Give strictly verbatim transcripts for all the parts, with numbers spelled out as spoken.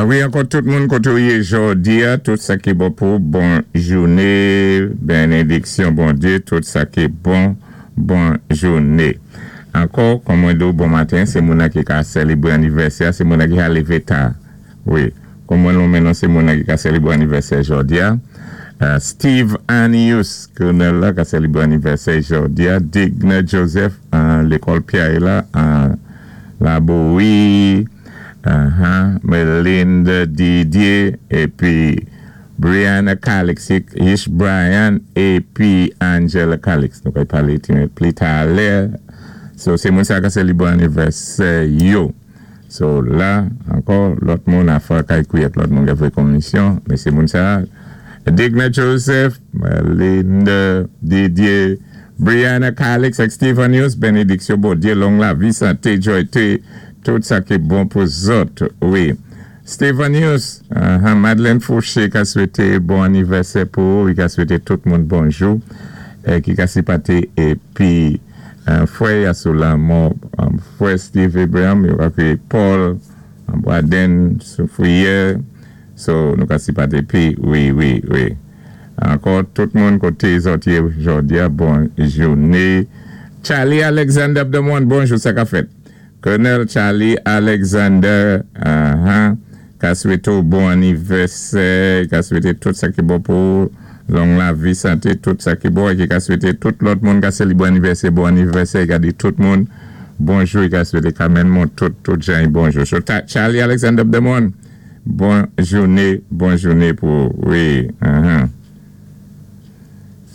Ah wi, ankò tout moun koté ou yé jòdi-a, tout sa ki bon pou bon jouné, bénédiksyon Bondyé, tout sa ki bon, bon jouné. Ankò, kòm mwen di bon maten, sé moun ki ka sélébwé anivèsè, sé moun ki ka lévé ta. Wi, kòm mwen nonmen sé moun ki ka sélébwé anivèsè jòdi-a. Euh, Steve Anius, colonel la, ka sélébwé anivèsè jòdi-a. Digna Joseph, euh, lékòl Pierre la, euh, Laboui, uh-huh, Melinda Didier, épi Brianna Calix, Ish Brian, épi Angela Calix. Nou ka palé pli talè. So, sé moun sa ka sélébwé anivèsè yo. So, la, ankò, lòt moun a fwa kay kouyèt, lòt moun ka fè komisyon, men sé moun sa, Digna Joseph, Melinda Didier, Brianna Calix ak Stephen Hughes, bénédiksyon Bondyé, long lavi, santé, joyté, tout sa ki bon pou zòt, wi. Stephen Hughes, uh, Madeleine Fouché ka swété bon anivèsè pou, li ka swété tout moun bonjou, eh, ki ka sipaté, épi euh, fwè a sou lanmò, um, fwè Steve Abraham, yo ka kwé Paul, Boaden, Soufrière, so nou ka sipaté pi, wi, wi, wi. Ankò, tout moun koté zòt yé jòdi-a, bon jouné. Charlie Alexander Abdemon, bonjou, sa ka fèt. Colonel Charlie Alexander, uh-huh, ka swété bon anivèsè, ka swété tout sa ki bon pou long lavi, santé, tout sa ki bon, é ki ka swété tout lòt moun ka sélébwé anivèsè, bon anivèsè, ka di tout moun, bonjou, ka swété kanmenm moun, tout, tout jan, bonjou. So, Charlie Alexander Abdemon, bon jouné, bon jouné pou, wi, uh-huh.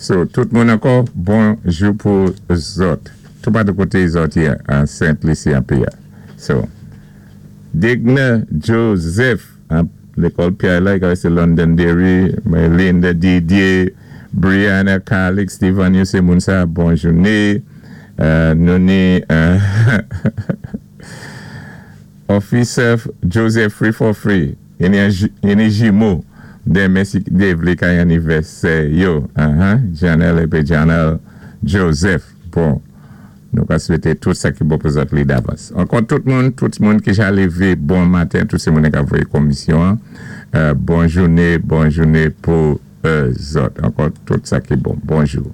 So, tout moun ankò, bonjou pou zòt. Tout pa de koté zòt yé, an Saint-Lucie an péyi. So, Digna Joseph, an lékòl Pierre la, sé Londonderry, Melinda Didier, Brianna Calix, Steven sé moun sa, bon jouné. Euh, nou ni, euh, Officer Joseph Free for Free, i ni jimo, denmen si Dye vlé kay anivèsè yo, uh-huh, Janelle épi Janelle Joseph, bon, nou ka swété tout sa ki bon pou zòt li davans. Ankò tout moun, tout moun ki ja lévé bon maten, tout sé moun ka voyé komisyon, euh, bon jouné, bon jouné pou euh, zòt. Ankò tout sa ki bon. Bonjou.